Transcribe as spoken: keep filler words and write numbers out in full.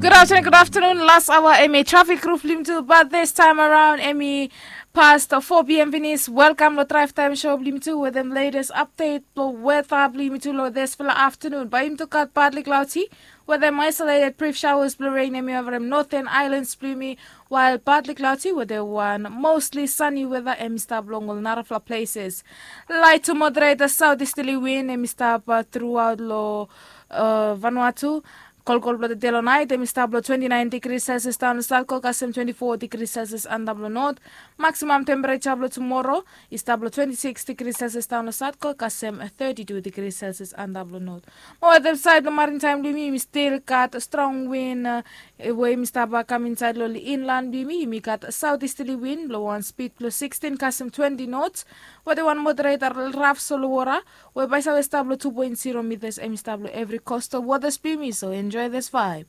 Good afternoon, good afternoon. Last hour, emi traffic roof limtu, but this time around, emi past four p.m. finish. Welcome to Drive Time Show limtu with them latest update, the weather limtu lo this fella afternoon. By him to cut partly cloudy with them isolated brief showers blue rain emi over them northern islands blue me, while partly cloudy with the one mostly sunny weather emi stop long all narafla places. Light to moderate the southeasterly wind emi stop uh, throughout lo uh, Vanuatu. Kolkol blong tede long nait em i stap long twenty nine degrees Celsius daun long South Coast kasem twenty four degrees Celsius antap long North. Maximum temperature blong tomorrow i stap long twenty six degrees Celsius daun long South Coast kasem thirty two degrees Celsius antap long North. Mo wetem sait blong maritime blong yumi yumi stil gat strong wind uh, we yumi stap kam insait long inland blong yumi yumi gat southeasterly wind blong wan speed blong sixteen kasem twenty knots. Wetem wan moderator raf solo water we baisave stap long two point zero meters em i stap long every coastal waters blong yumi, so enjoy this vibe.